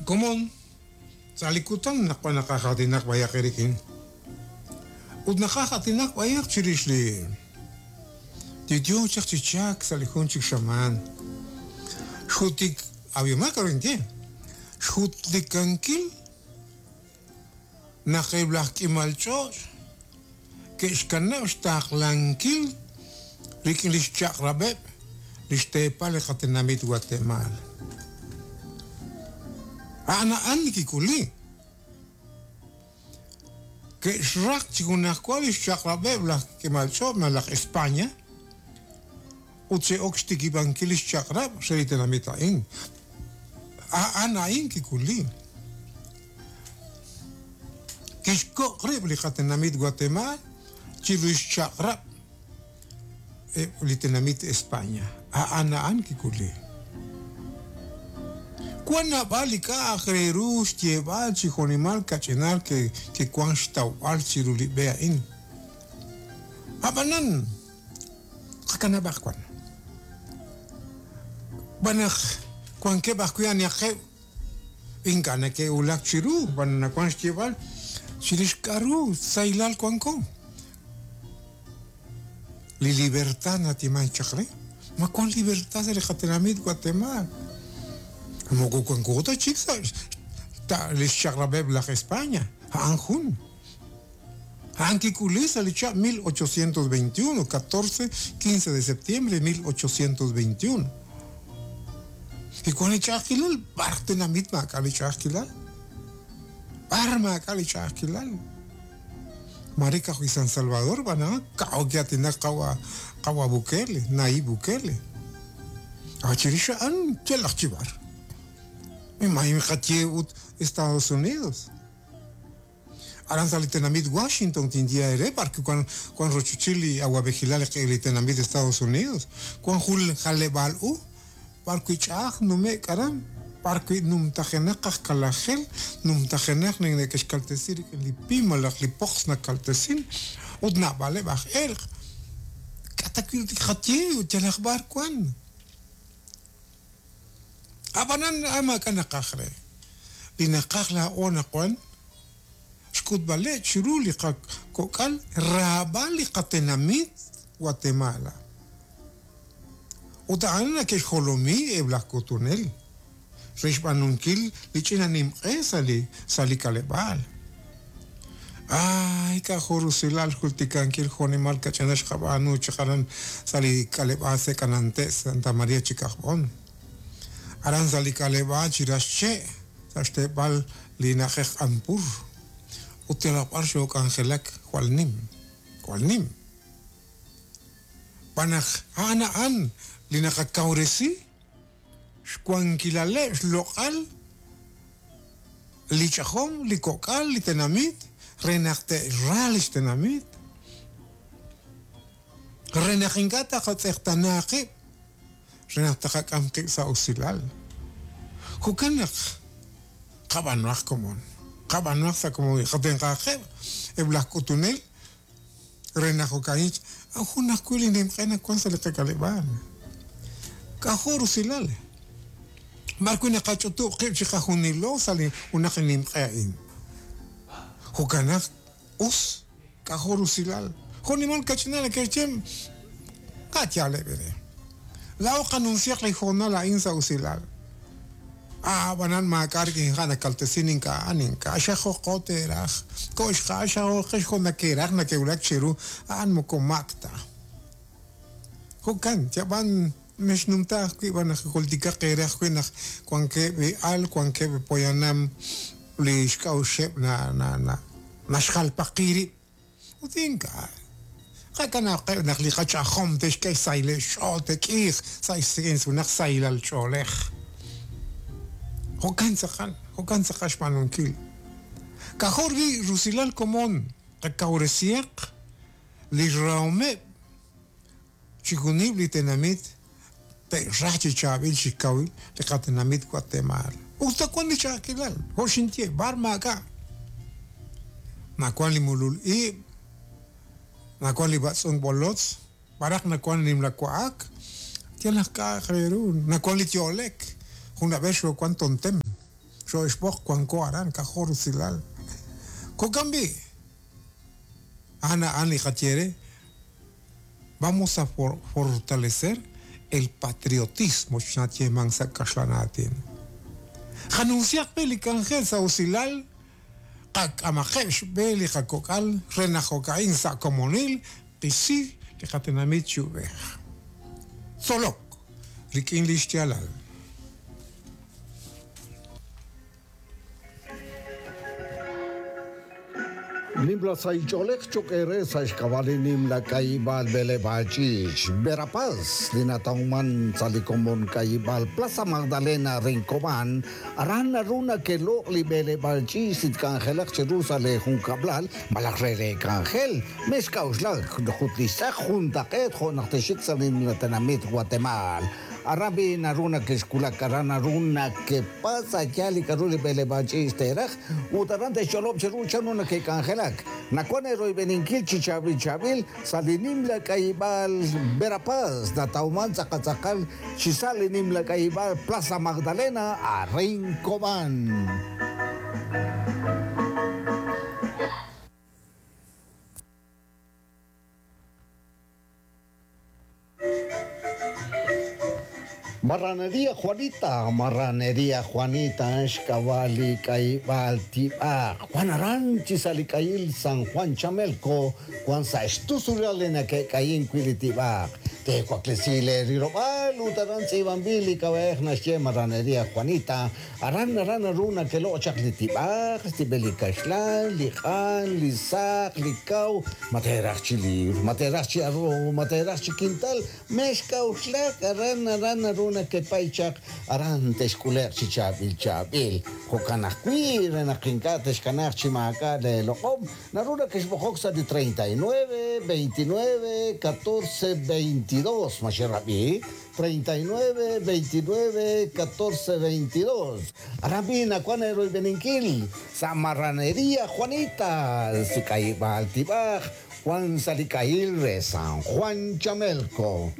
Komon, sa' li kutan naq wan naqaj aatinak b'ayaq eerik'in, ut naqaj aatinak b'ayaq chirix li li yoo chaq chi chalk sa' li jun chik xamaan. Xjutik, ab'ihomaq k'a'ru ninye, xjutlikankil naq eb' laj k'imal ch'och' ke'xkanab' xtaqlankil rik'in lix chaq'rab'eb' lix teepal li qatenamit Watemaal. A'an a'an li kik'uli. Ke'xraq chi junajwa lix chaq'rab'eb' laj k'imal ch'och' malaj España ut xe'ok xtikib'ankil lix chaq'rab' re li tenamit a'in. A'an a'in kik'uli. Kixkoq' rib' li qatenamit Guatemala chiru xchaq'rab' eb' li tenamit España. A'an a'an kik'uli. Wan naab'al li k'a'aq re ru xyeeb'al chi jo'nimal kach'inal ke'wan xtawb'al chiru li b'e a'in. A'b'anan, qakanab'aq wan. Xb'aan naq wankeb' ajwi' anihaqeb' Ink'a' neke'wulak chiru, b'an nawank xyeeb'al chirix k'aru sahilal wanko. Li libertad natimank chaq re. Ma wank libertad sa' li qatenamit Guatemala? Moko wanko ta chik sa' li xchaq'rab'eb' laj España. A'an jun. A'an kik'uli sa' li chihab' 1821, 14, 15 de septiembre 1821. Kiwan li ch'a'ajkilal, b'ar tenamit maak'a' li ch'a'ajkilal? B'ar maak'a' li ch'a'ajkilal? Mare ka'ajwi' San Salvador b'an a'an kaw ki'aatinak qawa' qawa' Bukele, Nayib Bukele. Ab'an chirix a'an yalaq chi b'ar. Miqaye ut Estados Unidos. Aran sa' li tenamit Washington tinye eere b'ar wan wan rochochil li awa'b'ejilal li tenamit Estados Unidos. Wan jun jaleb'aal u b'ar wi' ch'a'aj nume'k aran, b'ar wi' numtajenaq aj kalajel, numtajenaq li neke'xkaltesi rik'in li pim malaj li poqs nakaltesin ut naab'aleb' aj elq'. K'a' ta wi' qaye ut yalaq b'ar wan. Ab'anan a'an maak'a' naqaj re. Li naqaj laa'o anaqwan, xk'utb'aleb' chiru li qakok'al raab'al li qatenamit Guatemala. Ut a'an nake'xjolomi eb' laj k'utunel re xb'aanunkil li ch'ina nimq'e sa' li sa' li k'aleb'aal. Aay, k'a'jo' rusilal xjultikankil jo'nimal kach'inal xqab'aanu chaq aran sa' li k'aleb'aal Sek'anante' Santa Maria chi Kajb'on. Aran sa' li k'aleb'aal chi rax che' sa' xteepal li na'ajej Q'anpur. Ut yalaq b'ar xook'anjelak jwal nim, jwal nim. Xb'aan naq a'an a'an li naqakawresi xwankilaleb' xloq'al li ch'ajom, li kok'al, li tenamit, re naq te'xra li xtenamit, re naq ink'a' taqatz'eqtaana qib', re naq taqak'am qib' sa' usilal. Jo'kan naq qab'aanuhaq komon, qab'aanuhaq sa' komonil, qatenq'ahaqeb' eb' laj k'utunel re naq jo'ka'in jun ajwi' li nimq'e nawank sa' li qak'aleb'aal. K'ajo' rusilal! B'ar wi' naqach'utub' qib' chiqajunilo sa' li junaq li nimq'e a'in. Jo'kan naq us, k'ajo' rusilal! Jo' nimal kach'inal neke'xye, Ka' yaaleb' eere. Laa'o qanumsiaq li hoonal a'in sa' usilal. A'b'anan maak'a' rik'in ha' nakaltesin ink'a' a'an ink'a' xajoqo teeraj, koxqa xajoqex jo' nake'raj nake'wulak cheru, a'an moko maak ta. Jo'kan, yab'an mexnumta ajwi' b'an naq jultikaq eere ajwi' naq wankeb' li al, wankeb' li poyanam li xk'a'uxeb' na na na naxjalpaqi rib'. Ut ink'a'. Qakanab'qeb' naq li qach'ajom te'xk'e xsahileb' xch'ool te'k'iiq sa' xsik'in junaq sahilal ch'oolej. Jo'kan tz'aqal, jo'kan tz'aqal xb'aanunkil. K'ajo' ri' rusilal komon qakawresihaq li xrahomeb' chixjunil li tenamit te'raj chi chaab'il chi kawil li qatenamit Guatemala. Us ta wan li ch'a'ajkilal, jo' xinye, b'ar maak'a'. Nawan li mulul ib', nawan li b'atz'unk b'olotz, b'araq nawan li nimla wa'ak, yalaq k'a'aq re ru, nawan li yo'lek. Jun ab'ex xoowan tontem. Xoo'xb'oq wanko aran k'ajo' rusilal. Jo'kan b'i', a'an a'an li qaye re, vamos a fortalecer el patriotismo xnayeemank sa' kaxlan aatin. Qanumsihaq b'i' li k'anjel sa' usilal, qak'amaqeb' xb'e li qakok'al re naq jo'ka'in sa' komonil qisi li qatenamit chi ub'ej. Tzolok rik'in li xyaalal. Nimla sahil ch'oolej cho'q eere sa' xk'ab'a' li nimla k'ayib'aal b'eleb'aal ch'iich' Verapaz li natawman sa' li komon k'ayib'aal Plaza Magdalena Rincobán, aran naru nake'loq' li b'eleb'aal ch'iich' li tk'anjelaq cheru sa' lee junkab'lal malaj re lee k'anjel. Mexk'a'uxlak ut li xtz'aq juntaq'eet jo' naq texxik sa' li nimla tenamit Watemaal. Aran b'i' naru nake'xwulak, aran naru nakepatz' a' yaal li k'a'ru li b'eleb'aal ch'iich' teeraj, ut aran te'xch'olob' cheru chanru nake'k'anjelak. Nawank eeroyb'eninkil chi chaab'il chaab'il sa' li nimla k'ayib'aal Verapaz, natawman tz'aqal tz'aqal chi sa' li nimla k'ayib'aal Plaza Magdalena, arin Cobán. Marraneria Juanita, Marraneria Juanita, xk'ab'a' li k'ayib'aal tib'aq. Wan aran chi sa' li k'ayil San Juan Chamelco, wan sa' xtusulal li nake'k'ayink wi' li tib'aq. Teewaklesi lee rilob'aal ut aran tz'iib'anb'il li k'ab'a'ej naxye Marraneria Juanita. Aran aran naru nakeloq' chaq li tib'aj, xtib'el li kaxlan, li q'an, li saq, li kaw, ma teeraj chi liwr, ma teeraj chi arroz, ma teeraj chi kintal, mexk'a'uxlak, aran aran naru nakepay chaq, aran texk'ule'q chi chaab'il chaab'il. Jo'kan ajwi', re naq ink'a' texkanaaq chi maak'a' leeloq'om, naru nakexb'oqok sa' li 39, 29, 14, 22, ma xerab'i? 39, 29, 14, 22. Aran b'i' nawank eeroyb'eninkil sa' Marraneria Juanita, si k'ayib'aal tib'aj, wank sa' li k'ayil re San Juan Chamelco.